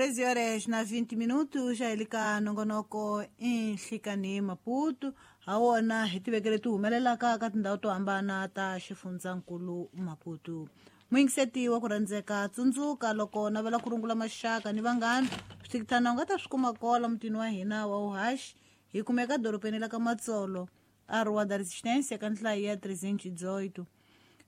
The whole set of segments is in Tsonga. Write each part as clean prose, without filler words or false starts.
13 horas na 20 minutos xa hi le ka nongonoko i Nhlikani Maputo ha wona hi tivekele ti humelelaka ka tindhawu to hambana ta xifundzankulu Maputo. Muyingiseti wa ku rhandzeka, tsundzuka loko navela ku rungula maxaka ni vanghana, swithikithana u nga ta swi kuma kola mutini wa hina wa uhaxi. Hi kumeka dorobeni la ka Matsolo, a Rua da Resistência, ka nhlayo ya 318.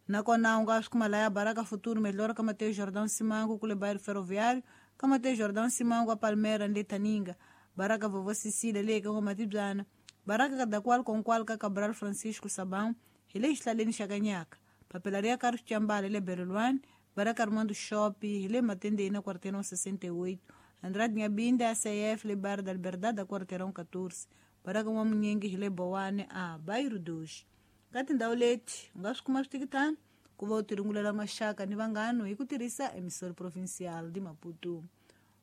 Nakona u nga swi kuma laya Baraka Futuro Melhor ka Mateus Jordão Simango kule bairro Ferroviário, ka Mateus Jordão Simango a Palmeiras ni le Taninga, Baraka Vovó Cecília le ka N'wamatibyana, Baraka Kadakwal Konkwal ka Cabral Francisco Sabão hi le xihlaleni xa Kanyaka, Papila ri ya ka Rixambala le Berelwani, Baraka Armando Shopi hi le Matendeni na Quarteirão 68, Andrade Nyabinda ACF le Bairro da Liberdade a Quarteirão 14, Baraka N'wamunyingi hi le Bowane a Bairro 2. Ka tindhawu leti u nga swi kuma switikitana ku va u tirungulela maxaka ni vanghano hi ku tirhisa Emissora Provincial de Maputo.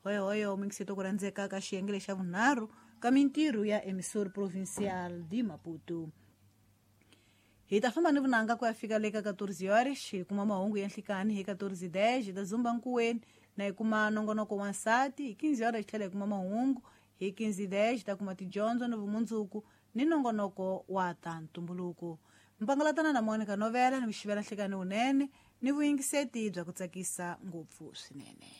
Hoyohoyo mingiseto ku rhandzeka ka xiyenge lexa vunharhu ka mintirho ya Emissora Provincial de Maputo. Hi ta famba ni vunanga ku ya fika le ka 14 horas hi kuma mahungu ya nhlikani, hi 14:10 hi ta zumba nkuweni na hi kuma nongonoko wa nsati, hi 15 horas hi tlhela hi kuma mahungu, hi 15:10 hi ta kuma tidyondzo ni vumundzuku ni nongonoko wa ta ntumbuluko. Mpangalatana na Monica Novela ni ku xivela nhlikani wunene ni vuyingiseti bya ku tsakisa ngopfu swinene.